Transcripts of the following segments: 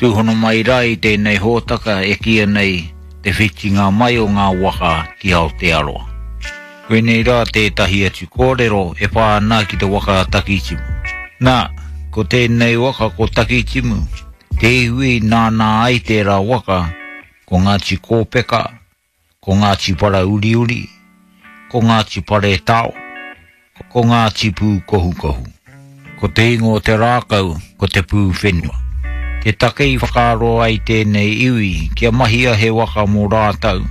Tūhono mai rā i tēnei hōtaka e kīia nei te whitinga mai o ngā waka ki Aotearoa. Koinei rā tētahi atu kōrero e pā ana ki te waka a Takitimu. Nā, ko tēnei waka ko Takitimu, te iwi nāna ai tērā waka, ko Ngāti Kōpeka, ko Ngāti Parauriuri, ko Ngāti Paretao, ko Ngāti Pūkohukohu. Ko te ingoa o te rākau ko Te Pūwhenua. Te take i whakaaro ai tēnei iwi kia mahia he waka mō rātou,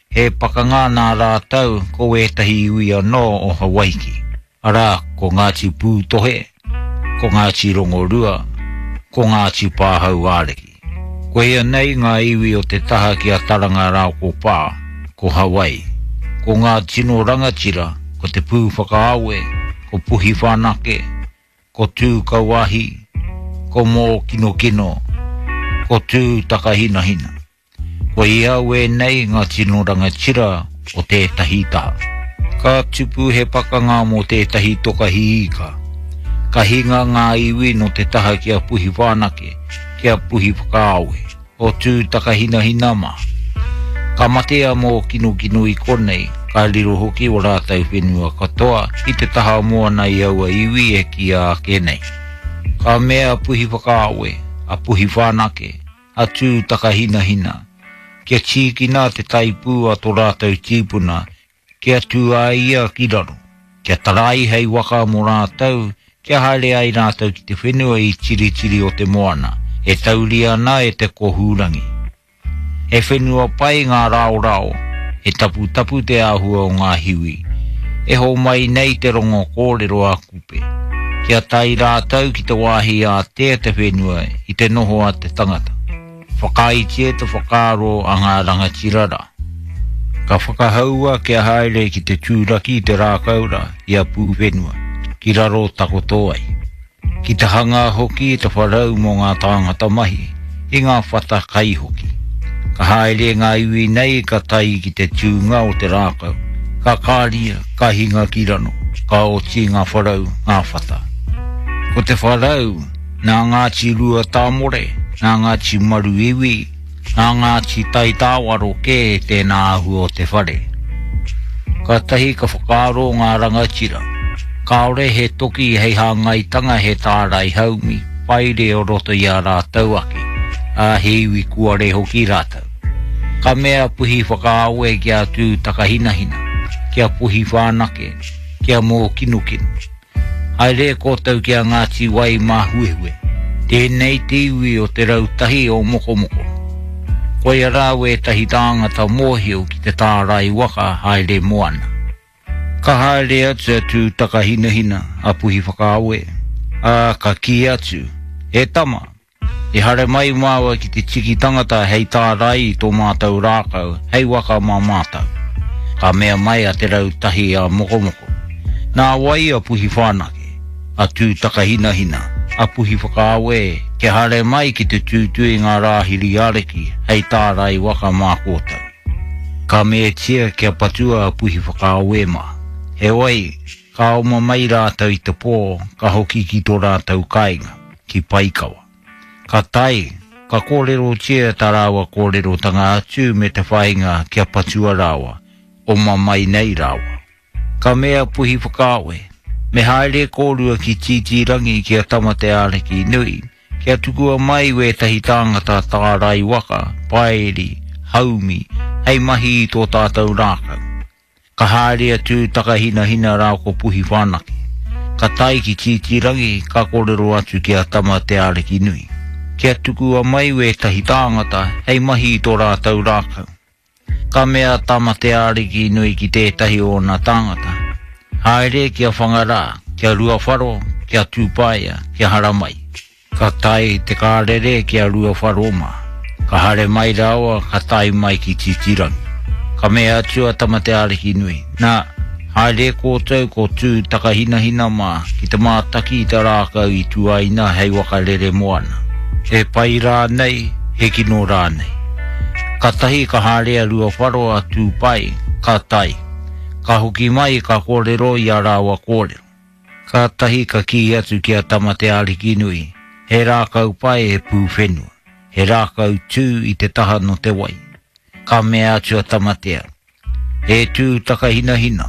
he pakanga nā rātou ko wētahi iwi anō o Hawaiki. Arā, ko Ngāti Pūtohe, ko Ngāti Rongorua, ko Ngāti Pāhauāriki. Koia nei ngā iwi o te taha ki a Taranga rāo ko Pā, ko Hawaii. Ko ngā tino rangatira, ko Te Pūwhakaawe, ko Puhiwhanake, ko Tūkauahi, ko Mōkinokino, ko Tūtakahinahina. Koia wēnei ngā tino rangatira o tētahi taha. Ka tupu he pakanga mō tētahi toka hiika. Ka hinga ngā iwi nō te taha ki a Puhiwhanake, ki a Puhiwhakaawe, o Tūtakahinahina mā. Ka mate a Mōkinokino i konei, ka riro hoki o rātou whenua katoa i te taha moana i aua iwi e kīia ake nei. Ka mea a Puhiwhakaawe, a Puhiwhanake, a Tūtakahinahina, kia tīkina te taipū a tō rātou tīpuna, kia tū a ia ki raro, kia tarai hei waka mō rātou, kia haere ai rātou ki te whenua i Tiritiri o te Moana, e tauria ana e te Kohūrangi. He whenua pai ngā raorao, he taputapu te āhua o ngā hiwi, e hōmai nei te rongo kōrero a Kupe. Kia tae rātou ki te wāhi ātea te whenua i te noho a te tangata. Whakaaetia te whakaaro a ngā rangatira rā. Ka whakahaua kia haere ki te tūraki i te rākau rā i a Pūwhenua, ki raro takoto ai. Ki te hanga hoki i te wharau mō ngā tāngata mahi, i ngā whata kai hoki. Ka haere ngā iwi nei ka tae ki te tūnga o te rākau, ka kāria, ka hinga ki rano, ka oti ngā wharau, ngā whata. Ko te wharau, nā Ngāti Ruatāmore, nā Ngāti Maruiwi, Nā Ngāti Taitāwaro kē tēnā āhua o te whare. Kātahi ka whakaaro ngā rangatira, kāore he toki hei hāngaitanga he tārai haumi paere o roto i a rātou ake, ā, he iwi kuare hoki rātou. Ka mea a Puhi Whakaawe ki a Tūtakahinahina, ki a Puhi Whānake, ki a Mōkinokino. Haere koutou ki a Ngāti Wai Māhuehue. Tēnei te iwi o te rautahi o Mokomoko. Koia rā wētahi tāngata mōhio ki te tārai waka haere moana. Ka haere atu a Tūtakahinahina, a Puhiwhakaawe, ā, ka kī atu, E tama, I haere mai māua ki te tiki tangata hei tārai i tō mātou rākau hei waka mā mātou. Ka mea mai a Te Rautahi a Mokomoko, Nā wai a Puhiwhānake, a Tūtakahinahina, a Puhiwhakaawe kia haere mai ki te tūtū i ngā rāhiri ariki hei tārai waka mā kōtou? Ka meatia kia patua a Puhiwhakaawe mā. Heoi, Ka oma mai rātou i te pō, ka hoki ki tō rātou kāinga, ki Paikawa. Ka tae, ka kōrerotia tā rāua kōrerotanga atu me te whāinga kia patua rāua, oma mai nei rāua. Ka mea a Puhiwhakaawe, Me haere kōrua ki Tītīrangi ki a Tamateaarikinui, kia tukua mai wētahi tāngata tārai waka, paeri, haumi, hei mahi i tō tātou rākau. Ka haere a Tūtakahinahina rā ko Puhiwhānake. Ka tae ki Tītīrangi, ka kōrero atu ki a Tama Te Ārikinui, kia tukua mai wētahi tāngata hei mahi i tō rātou rākau. Ka mea a Tama Te Ārikinui ki tētahi o ōna tāngata, Haere ki a Whangarā, ki a Ruawharo, ki a Tūpaea, kia haramai. Ka tae te kārere ki a Ruawharo mā. Ka haere mai rāua ka tae mai ki Titirangi. Ka mea atu a Tamateaarikinui, Nā, haere kōtou ko Tūtakahinahina mā ki te mātaki i te rākau i tuaina hei waka rere moana. He pai rānei, he kino rānei. Katahi ka haere a Ruawharo a Tūpai, ka tae. Ka hoki mai ka kōrero i a rāua kōrero. Kātahi ka kī atu ki a Tamateaarikinui, He rākau pai he pūwhenua. He rākau tū i te taha no te wai. Ka mea atu a Tamatea, E tū takahinahina,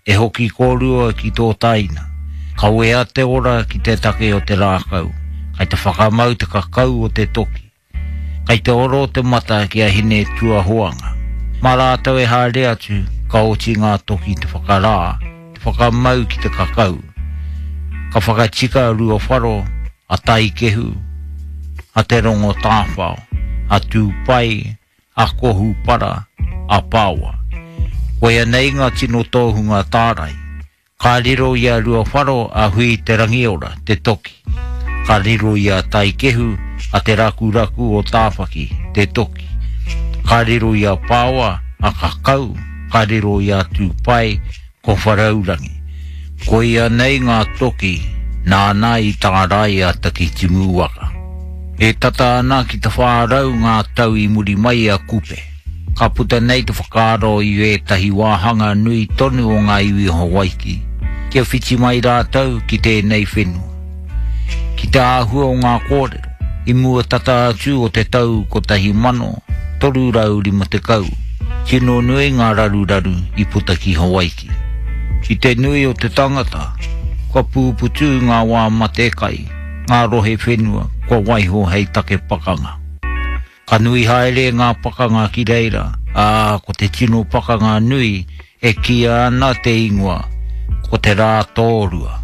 e hoki kōrua ki tō taina. Kawea te ora ki te take o te rākau, kai te whakamau te kakau o te toki. Kai te oro te mata ki a Hine Tuahoanga. Mā rātou e haere atu, ka oti ngā toki te whakarā, te whakamau ki te kakau. Ka whakatika a Ruawharo, a Taikehu, a Te Rongotāwhao, a Tūpai, a Kohupara, a Paoa. Koia nei ngā tino tōhunga tārai. Ka riro i a Ruawharo a Hui Te Rangiora, te toki. Ka riro i a Taikehu a Te Rakuraku o Tāwhaki, te toki. Ka riro i a Paoa a Kakau, ka riro i a Tūpai ko Wharaurangi. Koia nei ngā toki nāna i tārai a Takitimu waka. E tata ana ki te 400 ngā tau i muri mai a Kupe. Ka puta nei te whakaaro i ētahi wāhanga nui tonu o ngā iwi o Hawaiki, kia whiti mai rātou ki tēnei whenua. Ki te āhua o ngā kōrero, i mua tata atu o te tau 1350, tino nui ngā raruraru i puta ki Hawaiki. I te nui o te tangata, kua pūputu ngā wā mate kai, ngā rohe whenua kua waiho hei take pakanga. Ka nui haere ngā pakanga ki reira, ā, ko te tino pakanga nui e kīia ana te ingoa, ko te Rā Tōrua.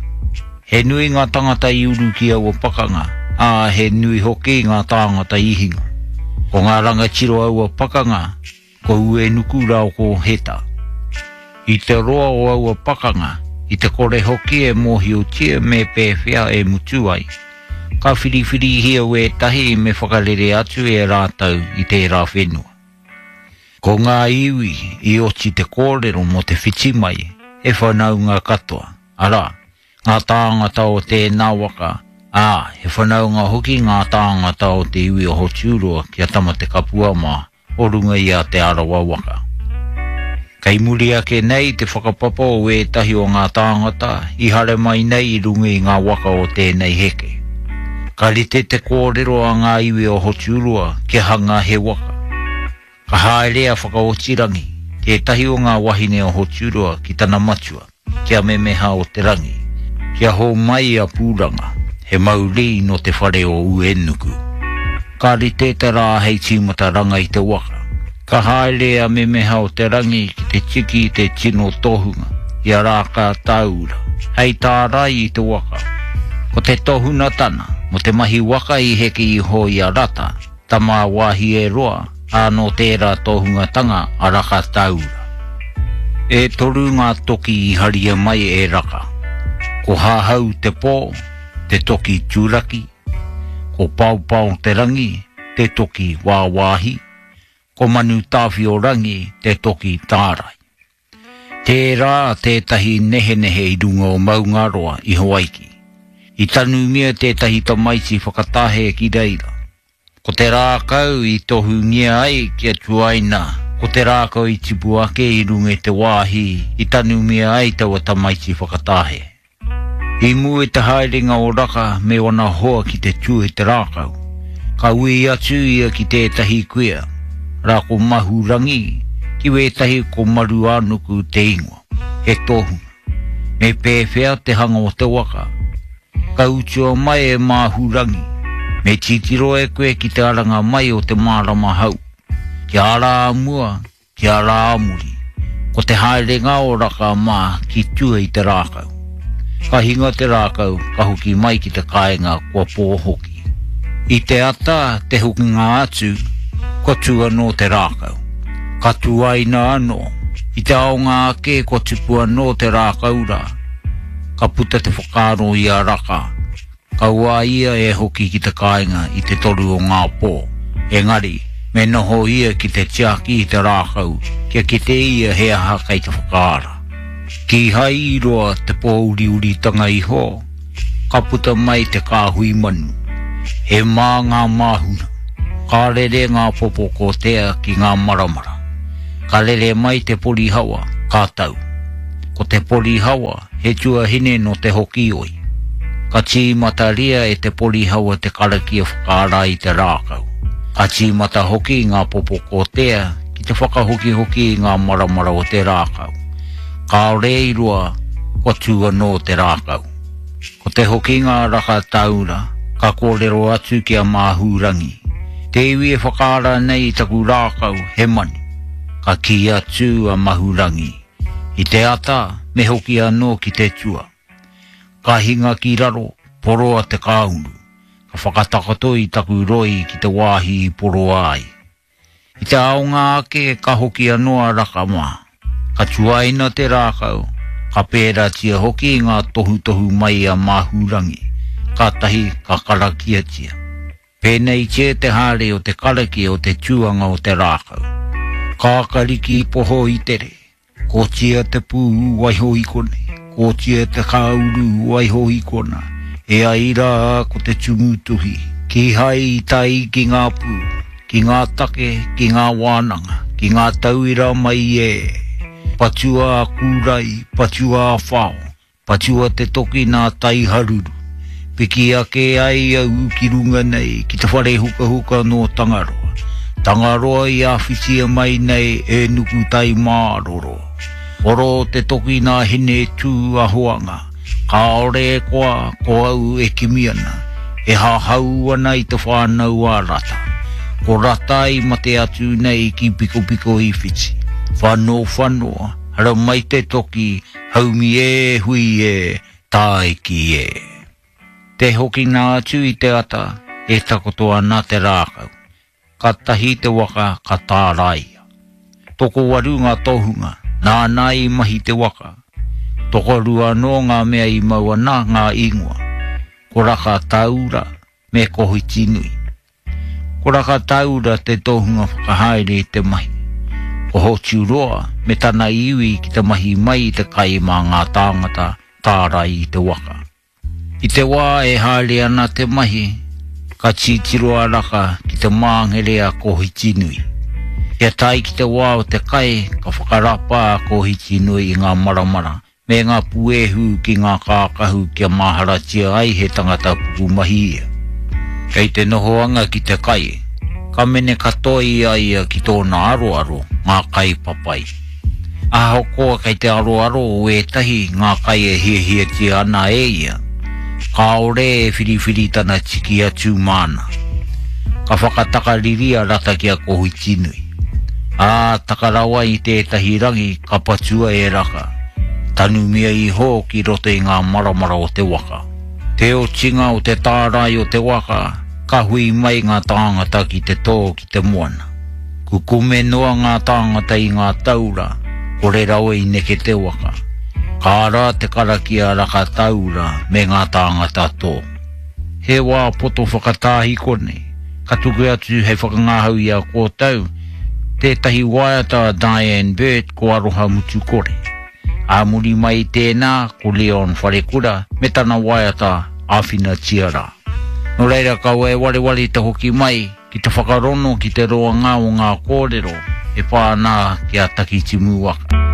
He nui ngā tangata i uru ki aua pakanga, ā, he nui hoki ngā tāngata i hinga. Ko ngā rangatira o aua pakanga, Ko Uenuku rāo ko Heta. I te roa o aua pakanga, i te kore hoki e mōhiotia me pēwhea e mutu ai, ka whiriwhirihia wētahi me whakarere atu e rātou i tērā whenua. Ko ngā iwi i oti te kōrero mō te whiti mai, he whanaunga katoa, arā, ngā tāngata o tēnā waka, ā, he whanaunga hoki ngā tāngata o te iwi o Hoturoa ki a Tamatekapua mā, o runga i a Te Arawa waka. Kei muri ake nei te whakapapa o ētahi o ngā tāngata i haere mai nei i runga i ngā waka o tēnei heke. Ka rite te kōrero a ngā iwi o Hoturoa kia hanga he waka. Ka haere a Whakaotirangi, tētahi o ngā wahine o Hoturoa ki tana matua, ki a Memeha o te Rangi, kia hōmai a Pūranga, he mauri nō te whare o Uenuku. Ka rite te rā hei tīmataranga i te waka. Ka haere a Memeha o te Rangi ki te tiki i te tino tohunga, i a Rākātāura, hei tārai i te waka. Ko te tohuna tana, mō te mahi waka i heke iho i a Rata, tama a Wāhieroa, ā, nō tērā tohungatanga a Rakatāura. E toru ngā toki i haria mai e Raka. Ko Hahau te pō, te toki turaki, ko Paopao te rangi, te toki wāwāhi, ko Manu-tāwhio-rangi te toki tārai. Tērā tētahi nehenehe i runga o Maungaroa i Hawaiki. I tanumia tētahi tamaiti whakatahe ki reira. Ko te rākau i tohungia ai kia tuaina, ko te rākau i tipu ake i runga i te wāhi i tanumia ai taua tamaiti whakatahe. I mua i te haerenga o Raka me wana hoa ki te tū i te rākau, ka ui atu ia ki tētahi kuia, rā ko Mahurangi, ki wētahi ko Maruānuku te ingoa, he tohunga. Me pēwhea te hanga o te waka? Ka utua mai e Māhurangi, Me titiro e koe ki te aranga mai o te mārama hau. Kia ara a mua, Kia rā a muri, ko te haerenga o Raka mā ki tua i te rākau. Ka hinga te rākau, ka hoki mai ki te kāinga kua pō hoki. I te ata te hokinga atu, kua tū anō te rākau. Ka tuaina anō. I te aonga ake kua tupu anō te rākau rā. Ka puta te whakaaro i a Raka, Kaua ia e hoki ki te kāinga i te toru o ngā pō, engari, me noho ia ki te tiaki i te rākau kia kite ia he aha kei te whakaara. Kīhai i roa te pōuriuritanga iho, ka puta mai te kāhui manu. He mā ngā māhuna, ka rere ngā popo kōtea ki ngā maramara. Ka rere mai te porihawa, ka tau. Ko te porihawa, He tuahine nō Te Hokioi. Ka tīmataria e te porihawa te karakia whakaara i te rākau. Ka tīmata hoki ngā popo kōtea ki te whakahokihoki i ngā maramara o te rākau. Kāore i roa, kua tū anō te rākau. Ko te hokinga a Raka-taura, ka kōrero atu ki a Māhūrangi, Te iwi e whakaara nei i taku rākau, he manu. Ka kī atu a Mahurangi, I te ata, me hoki anō ki te tua. Ka hinga ki raro, poroa te kāuru. Ka whakatakoto i taku roi ki te wāhi i poroa ai. I te aonga ake ka hoki anō a Raka mā. Ka tuaina te rākau, ka pērātia hoki ngā tohutohu mai a Māhūrangi, kātahi ka karakiatia. Pēneitia te haere o te karakia o te tuanga o te rākau. Kākariki poho i tere, Kotia te pū, waiho i konei, kotia te kāuru, waiho i kona, e ai rā ko te tumutuhi, kīhai i tae ki ngā pū, ki ngā take, ki ngā wānanga, ki ngā tauira mai e. Patua a kūrai, patua a whao, Patua te toki nā Taiharuru. Piki ake ai au ki runga nei ki te whare hukahuka nō Tangaroa. Tangaroa i āwhitia mai nei e Nukutaimāroro. Oro te toki nā Hine Tū a Hoanga. Kāore e koa ko au e kimi ana, e hahau ana i te whānau a Rata. Ko Rata i mate atu nei ki Pikopiko i Whiti. Whano whanoa, haramai te toki, Haumi e, hui e, tāiki e. Te hokinga atu i te ata e takoto ana te rākau. Kātahi te waka ka tāraia. Tokowaru ngā tohunga, nāna i mahi te waka. Tokorua anō ngā mea i mau ana ngā ingoa, ko Rakatāura me Kohitinui. Ko Rakataura te tohunga whakahaere i te mahi. Ko Hoturoa me tana iwi ki te mahi mai i te kai mā ngā tāngata tārai i te waka. I te wā e haere ana te mahi, ka titiro a Raka ki te māngere a Kohitinui. Kia tae ki te wā o te kai, ka whakarapa a Kohitinui i ngā maramara me ngā puehu ki ngā kākahu kia māharatia ai he tangata pukumahi ia. Kei te nohoanga ki te kai, ka mene katoa i a ia ki tōna aroaro ngā kai papai. Ahakoa kei te aroaro o ētahi ngā kai e hiahiatia ana e ia, kāore e whiriwhiri tana tiki atu māna. Ka whakatakariri a Rata ki a Kohitinui. Ā, taka rawa i tētahi rangi ka patua e Raka, tanumia iho ki roto i ngā maramara o te waka. Te otinga o te tārai o te waka, ka hui mai ngā tāngata ki te tō ki te moana. Kukume noa ngā tāngata i ngā taura, kore rawa i neke te waka. Ka ara te karakia Raka Taura me ngā tāngata tō. He wā poto whakatāhiko nei. Ka tuku atu hei whakangahau i a kōtou tētahi waiata a Diane Burt ko Aroha Mutu Kore. Ā muri mai i tēnā ko Leon Wharekura me tana waiata Āwhinatia Rā. Nō reira kaua e wareware te hoki mai ki te whakarono ki te roanga o ngā kōrero e pā ana ki a Takitimu waka.